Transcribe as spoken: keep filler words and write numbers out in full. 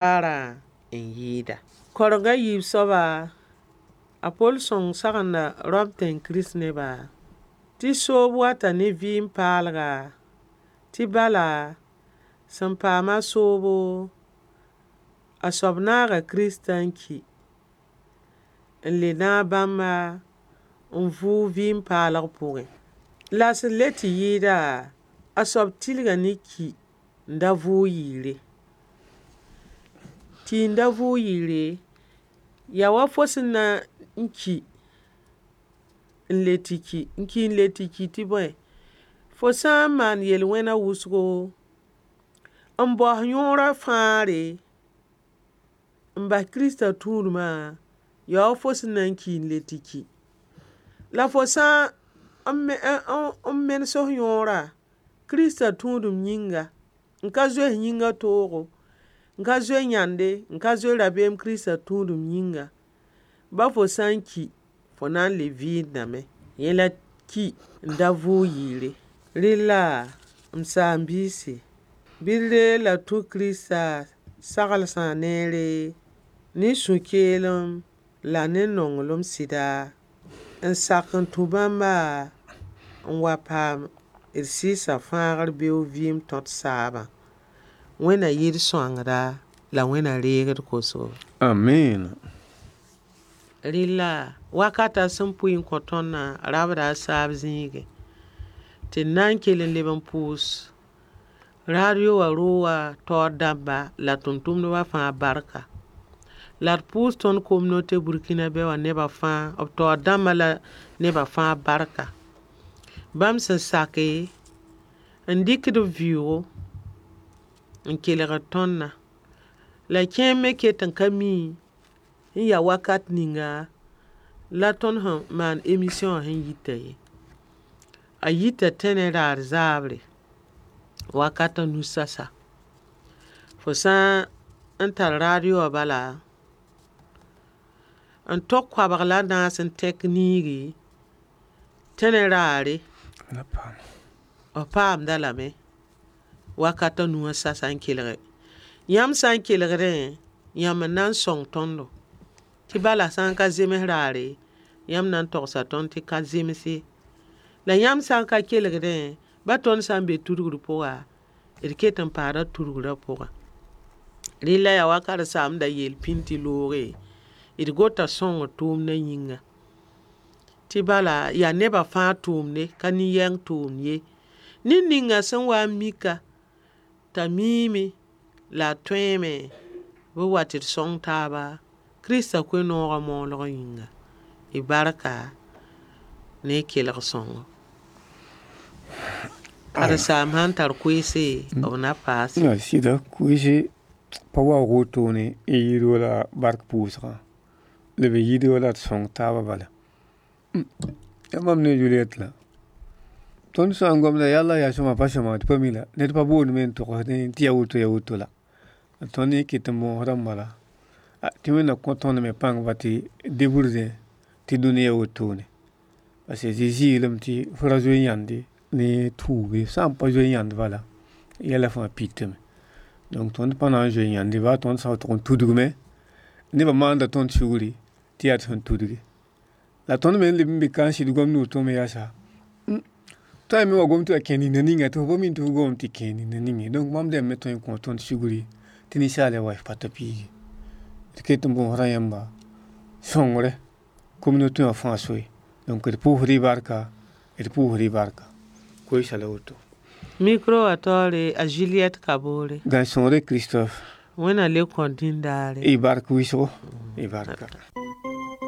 Paarã n yɩɩda. Koreng a yiib soaba, a Pol sõng sagenda Rom tẽng krist-neba tɩ soob wata ne vɩɩm paalga tɩ bala sẽn paama soobo, a soab naaga Kiristã n ki n le naag bãmba n vʋʋg vɩɩm paalg pʋgẽ. La sẽn le tɩ yɩɩda, a soab tilga ne ki n da vʋʋg yɩɩre. Ki n da vʋʋg yɩɩre, yaa wa fo sẽn na n ki n le tɩ ki. N ki n le tɩ ki tɩ bõe, fo sã n maan yel-wẽna wʋsgo, n baoos yõorã fãagre, n bas Kiristã tũudmã, yaa wa fo sẽn na n ki n le tɩ ki. La fo sã n n menes f yõorã Kiristã tũudem yĩnga, n ka zoe yĩngã toogo, n ka zoe yãnde, n ka zoe rabeem Kiristã tũudem yĩnga, ba fo sã n ki, fo na n le vɩɩndame. Yẽ la ki n da vʋʋg yɩɩre. Rella, m saam-biisi, bɩ d reeg la d tũ Kiristã saglesã neere ne sũ-keelem la ne nonglem sɩda n sak n tũ bãmba n wa paam d Sɩɩsa fãagr beoog vɩɩm tõd saabã. Wẽnna yɩ d sõangda la Wẽnna reeg d kosgo. Amiina. Rella, wakata sẽn pʋɩ n kõ tõndã rabda a saab zĩigẽ tɩ d na n kell n leb n pʋʋs radio wã roogã taoor dãmba la tʋm-tʋmdba fãa barka. La d pʋʋs tõnd communauté Burkinabé wã neba fãa, b taoor dãmba la neba fãa barka. Bãmb sẽn sake n dɩkd b vɩʋʋgo n kelgd tõndã. La kẽer me ket n ka mi n yaa wakat ninga la tõnd sẽn maan emission wã sẽn yita ye. A yita tẽnɛ daar zaabre, wakat a nu sasa. Fo sã n tar radio wã bala, n tog koabg la a naas n tẽk niigi, tẽnɛ raare, f paamd-a lame wakat a nu wã sasa n kelge. Yãmb sã n kelgdẽ, yãmb n na n sõng tõndo. Tɩ bala sã n ka zems raare, yãmb na n togsa tõnd tɩ ka zems ye. La yãmb sã n ka kelgdẽ, ba tõnd sã n be tudgr pʋga, d ket n paada tudgrã pʋgã. Rella yaa wa karen-saamb da yeel pĩnd tɩ looge, d gota sõngr tʋʋmdã yĩnga. Tɩ bala yaa neba fãa tʋʋmde, ka nin-yɛng tʋʋmd ye. Ned ninga sẽn wa n mika t'a miime la a tõeeme, bɩ b wa tɩ d sõng taaba Kiristã koe-noogã moolgã yĩnga. Y barka ne y kelg sõngo. Karen-saamb sãn tar koeese, b na paase. Ya sɩda koeese pa waoog wotone n yɩɩd wala bark pʋʋsgã. La b yɩɩd wala d sõng taabã bala. Yaa mam ne Juliet la. Tõnd sã n gomda yalla yaa sõma pa sõma d pa mi la. Ned pa boond me n togsdẽ tɩ yaa woto yaa woto la. Tõnd yẽ ket n bõosdame bala. Tɩ Wẽnda kõ tõnd me pãng ba tɩ debrdẽ tɩ dũni wotone. Parce que Zezi yeelame tɩ fo ra zoe yãnde ne tuub ye. Sã n pa zoe yãnd bala, yɛla fãa pitame. Donc tõnd pa na n zoe yãnde baa tõnd sã n tʋg n tudgame, nebã maanda tõnd sugri tɩ yaa d sẽn tudgi. La tõnd me n leb n be ka n sɩd gomd woto me yaasa, tõe n me wa gom tɩ wa kẽ nina ninga tɩ fo pa mi tɩ fo gomame tɩ kẽe nina ning ye. Donc bãmb dẽmb me tõe n kõo tõnd sugri tɩ ninsaal wa pa ta piigi. D ket n bõosda yãmba sõngre communauté wã fãa soe. Donc d pʋʋsd-y barka, d pʋʋsd-y barka. Koeesã la woto. Micro wã taoore a Juliette Kabore. Gãe-sõngre Christophe. Wẽnna le kõ dĩndaare. Y bark wɩsgo, y barka.